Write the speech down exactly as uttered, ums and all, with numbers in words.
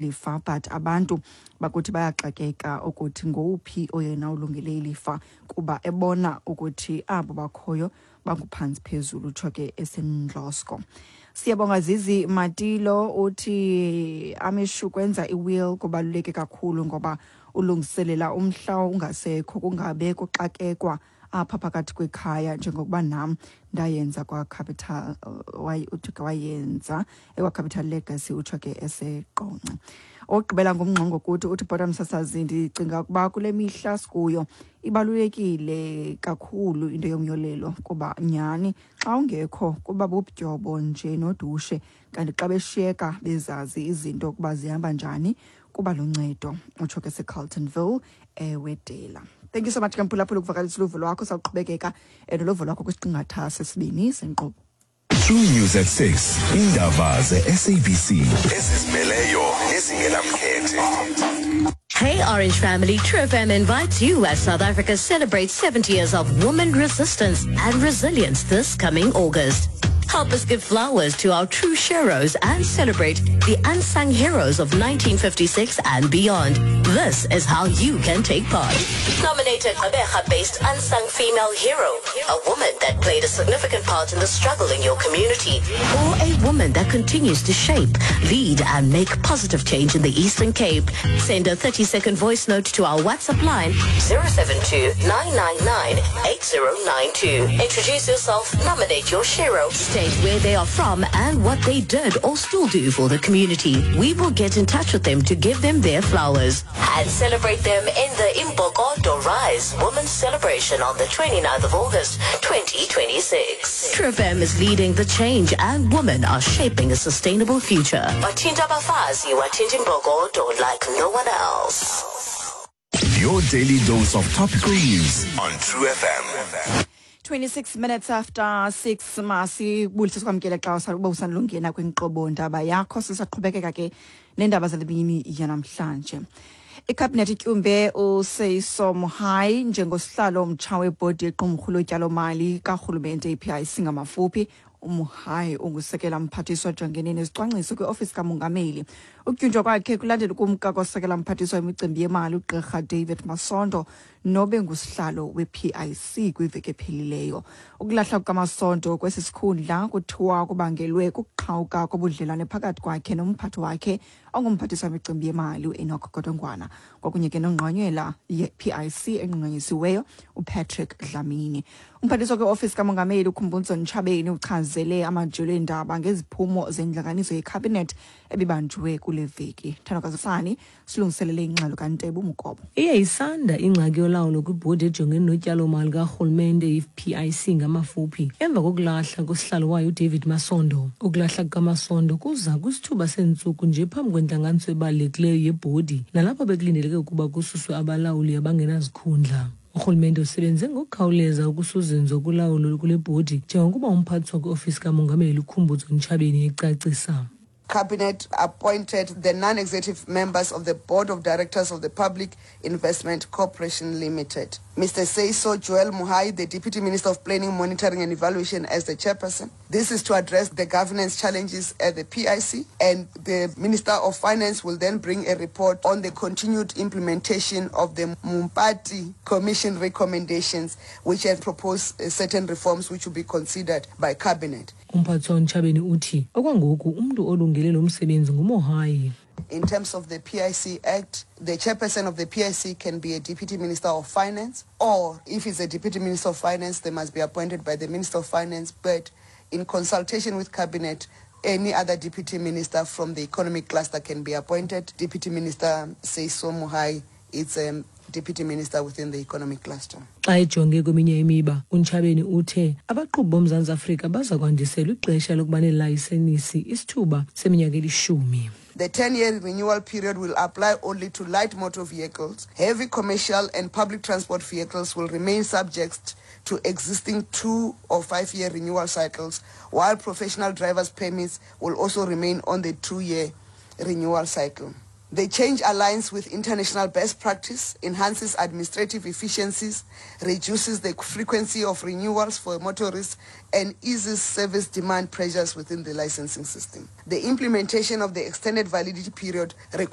Ilifa, but abantu bakuthi bayaxakeka ukuthi ngowuphi oyena ulungele ilifa, kuba ebona ukuthi abo bakhoyo banguphantsi phezulu, utsho ke eseNdlosko. Siyabonga Zizi Matilo, uthi amishu kwenza i-will kubaluleke kakhulu ngoba ulungiselela umhla ungasekho kungabe kuxakekwa apha phakathi kwekhaya, njengokuba nam ndayenza kwaCapital, uthi ke wayenza ekwaCapital Legacy, utsho ke eseQonce. Okugqibela ngumngxongo kuthi, uthi bhota msasazi, ndicinga ukuba kule mihla sikuyo ibalulekile kakhulu into yomyolelo, kuba nyhani xa ungekho kuba bubutyobo nje nodushe, kanti xa beshiyeka bezazi izinto ukuba zihamba njani kuba luncedo, utsho ke seCarltonville eWedela. Thank you so much ke mphulaphula ukuvakalisa uluvo lwakho. Sawuqhubekeka noluvo lwakho kwisiqingatha sesibini senkqubo. True News at six. Indaba ze-S A B C ezizimeleyo nezingenamkhethe. Hey Orange family, True F M invites you as South Africa celebrates seventy years of woman resistance and resilience this coming August. Help us give flowers to our true heroes and celebrate the unsung heroes of nineteen fifty-six and beyond. This is how you can take part. Nominate a Gqeberha-based unsung female hero, a woman that played a significant part in the struggle in your community, or a woman that continues to shape, lead, and make positive change in the Eastern Cape. Send a thirty-second voice note to our WhatsApp line zero seven two nine nine nine eight zero nine two. Introduce yourself, nominate your hero, state where they are from and what they did or still do for the community. We will get in touch with them to give them their flowers and celebrate them in the Imbokodo Rise Women's Celebration on the twenty-ninth of August twenty twenty-six. True F M is leading the change and women are shaping a sustainable future. Wathinta abafazi, wathinta imbokodo like no one else. Your daily dose of topical news on True F M. twenty-six minutes after six, masibulise sikwamkele xa usa- uba usandulungena kwinkqubo ndaba yakho. Sisaqhubekeka ke neendaba zale mini yanamhlanje. Ikhabhinethi ityumbe uSeiso Mohai njengosihlalo omtsha webhodi yequmrhu lotyalomali karhulumente, i-P I C ngamafuphi. UMohai ungusekela mphathiswa ojongene nezicwangciso kwiofisi kamongameli. Ukutyunjwa kwakhe kulandela ukumka kosekela mphathiswa wemicimbi yemali ugqirha David Masondo nobe ngusihlalo we-P I C kwiveki ephelileyo. Ukulahla kukaMasondo kwesi sikhundla kuthiwa kubangelwe kukuqhawuka kobudlelwane phakathi kwakhe nomphathi wakhe ongumphathiswa wemicimbi yemali uEnoch Godongwana, kwakunye ke nongqonyela ye-P I C enqunqanyisiweyo uPatrick Dlamini. Umphathiswa kwiofisi kamongameli uKhumbudzo Ntshavheni uchazele amajelo eendaba ngeziphumo zentlanganiso yekhabhinethi ebibanjwe kule veki. Thandokazisani silungiselele ingxelo kaNtebo Mukobo. Iye isanda ingxaki yolawulo kwibhodi ejongene notyalomali karhulumente, i-P I C ngamafuphi, emva kokulahla kosihlalo wayo uDavid Masondo. Ukulahla kukaMasondo kuza kwisithuba seentsuku nje phambi kwentlanganiso ebalulekileyo yebhodi, nalapho bekulindeleke ukuba kususwe abalawuli abangenazikhundla. Urhulumente usebenze ngokukhawuleza ukusuzinzo kulawulo kule bhodi, njengokuba umphathiswa kwiofisi kamongameli uKhumbudzo Ntshavheni ecacisa. Cabinet appointed the non-executive members of the Board of Directors of the Public Investment Corporation Limited. Mister Seiso Joel Mogae, the Deputy Minister of Planning, Monitoring and Evaluation, as the chairperson. This is to address the governance challenges at the P I C, and the Minister of Finance will then bring a report on the continued implementation of the Mompati Commission recommendations, which have proposed uh, certain reforms which will be considered by Cabinet. Umphathiswa uNtshavheni uthi okwangoku umntu olungele lo msebenzi nguMohai. In terms of the P I C Act, the chairperson of the P I C can be a Deputy Minister of Finance, or if it's a Deputy Minister of Finance, they must be appointed by the Minister of Finance, but in consultation with Cabinet, any other Deputy Minister from the economic cluster can be appointed. Deputy Minister Seiso Mogae is a Deputy Minister within the economic cluster. Xa ejonge kweminye imiba, uNtshavheni uthe abaqhubi boMzantsi Afrika baza kwandiselwa ixesha lokuba neelayisenisi isithuba seminyaka elishumi. The ten-year renewal period will apply only to light motor vehicles. Heavy commercial and public transport vehicles will remain subject to existing two or five-year renewal cycles, while professional drivers' permits will also remain on the two-year renewal cycle. The change aligns with international best practice, enhances administrative efficiencies, reduces the frequency of renewals for motorists, and eases service demand pressures within the licensing system. The implementation of the extended validity period requires